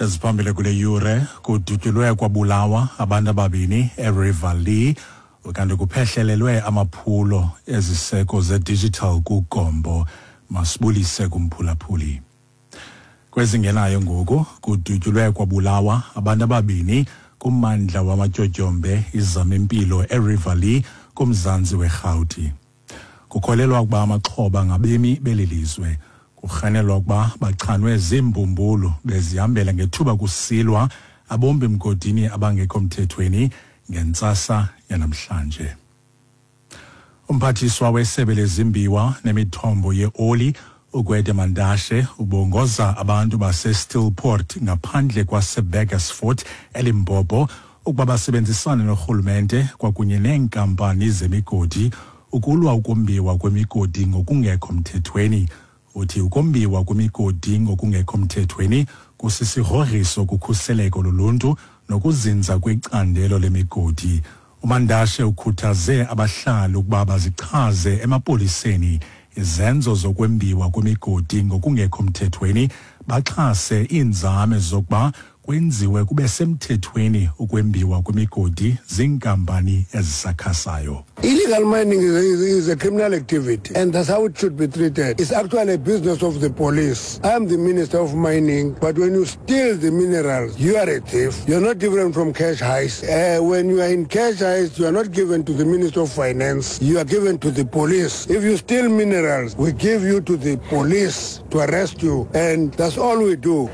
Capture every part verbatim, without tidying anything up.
Eziphambili kule yure: kudutyulwe kwabulawa abantu ababini eRiverlea, kanti kuphehlelelwe amaphulo eziseko zedigital kuGompo. Masibulise kumphulaphuli. Kwezingenayo ngoku, kudutyulwe kwabulawa abantu ababini kummandla wamatyotyombe iZamimpilo eRiverlea kumzantsi weRhawuti. Kukholelwa ukuba amaxhoba ngabemi beli lizwe. Kurhanelwa ukuba bachanwe ziimbumbulu bezihambela ngethuba kusilwa abombi mgodini abangekho mthethweni ngentsasa yanamhlanje. Umphathiswa wesebe lezimbiwa nemithombo yeoli, uGwede Mantashe, ubongoza abantu baseSteelpoort ngaphandle kwaseBurgersfort eLimpopo ukuba basebenzisane norhulumente kwakunye neenkampani zemigodi ukulwa ukombiwa kwemigodi ngokungekho mthethweni. Uthi ukombiwa kwemigodi ngokungekho mthethweni kusisigrogriso kukhuseleko loluntu nokuzinza kwecandelo lemigodi. UMantashe ukhuthaze abahlali ukuba bazichaze emapoliseni izenzo zokwembiwa kwemigodi ngokungekho mthethweni, baxhase iinzame zokuba kwenziwe kube semthethweni ukwembiwa kwemigodi ziinkampani ezisakhasayo. Illegal mining is a, is a criminal activity, and that's how it should be treated. It's actually a business of the police. I am the Minister of Mining, but when you steal the minerals, you are a thief. You're not different from cash heist. Uh, when you are in cash heist, you are not given to the Minister of Finance. You are given to the police. If you steal minerals, we give you to the police to arrest you, and that's all we do.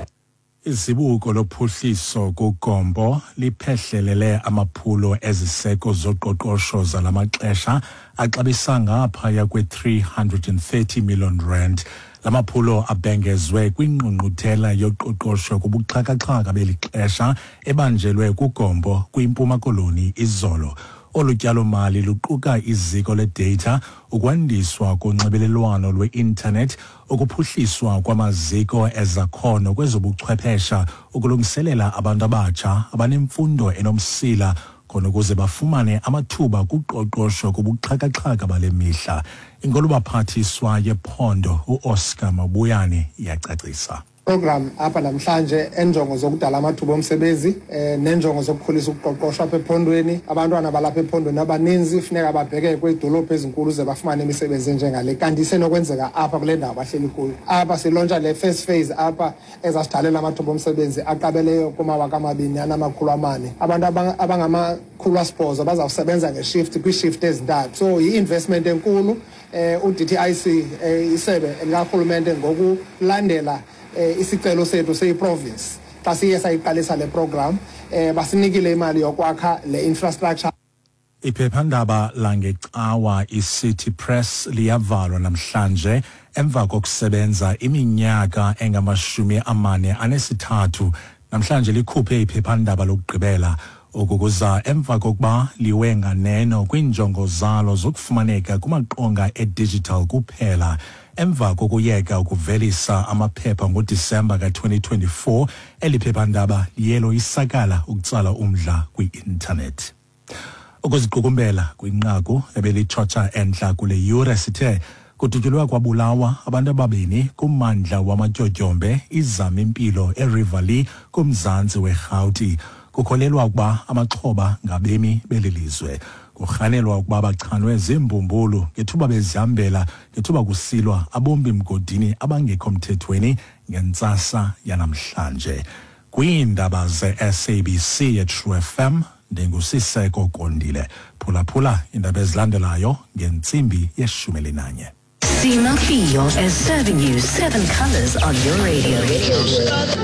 Izibuko lophuhliso kuGompo liphehlelele amaphulo eziseko zoqoqosho zalamaxesha axabisa ngaphaya kwe-three hundred and thirty million rand. La maphulo abhengezwe kwingqungquthela yoqoqosho kubuxhakaxhaka beli xesha ebanjelwe kuGompo kwiMpuma Koloni izolo. Olu tyalomali luquka iziko ledata, ukwandiswa konxibelelwano lwe-intanethi, ukuphuhliswa kwamaziko ezakhono kwezobuchwephesha ukulungiselela abantu abatsha abanemfundo enomsila khona ukuze bafumane amathuba kuqoqosho kubuxhakaxhaka bale mihla. Inkulubaphathiswa yephondo uOscar Mabuyane iyacacisa. Program apha namhlanje enjongo zokudala amathuba omsebenzi eh nenjongo zokukhulisa uqoqosho apha ephondweni. Abantwana balapha ephondweni abaninzi funeka babheke kwiidolophu ezinkulu ze bafumane imisebenzi enjengale, kanti isenokwenzeka apha kule ndawo bahleli kuyo. Apha silauncha le first phase apha ezasidalela amathuba omsebenzi aqabeleyo kumawaka amabini anamakhulu amane. Abantu abangamakhulu asibhozo bazawusebenza ngeshift, kwiishift ezintathu. So yi-investment enkulu. eh u-D T I C, eh, isebe likarhulumente, ngokulandela eh, isicelo sethu seyi-province xa siye sayiqalisa le program, eh basinikile imali yokwakha le infrastructure. Iphephandaba langecawa iCity Press liyavalwa namhlanje emva kokusebenza iminyaka engamashumi amane anesithathu. Namhlanje likhuphe iphephandaba lokugqibela. Oku kuza emva kokuba liwe nganeno kwiinjongo zalo zokufumaneka kumaqonga edigital kuphela emva kokuyeka ukuvelisa amaphepha ngoDisemba ka-twenty twenty-four. Eli phephandaba liye loyisakala ukutsala umdla kwi-intanethi. Ukuziqukumbela kwinqaku ebelitshotsha entla kule yure, sithe kudutyulwe kwabulawa abantu ababini kummandla wamatyotyombe iZamimpilo eRiverlea kumzantsi weRhawuti. Kukholelwa ukuba amaxhoba ngabemi beli lizwe. Kurhanelwa ukuba bachanwe ziimbumbulu ngethuba bezihambela ngethuba kusilwa abombi mgodini abangekho mthethweni ngentsasa yanamhlanje. Kwiindaba ze-S A B C yeTrue F M, ndinguSiseko Kondile. Phulaphula iindaba ezilandelayo ngentsimbi yeshumi elinanye. Sima Fiyo is serving you seven colors on your radio.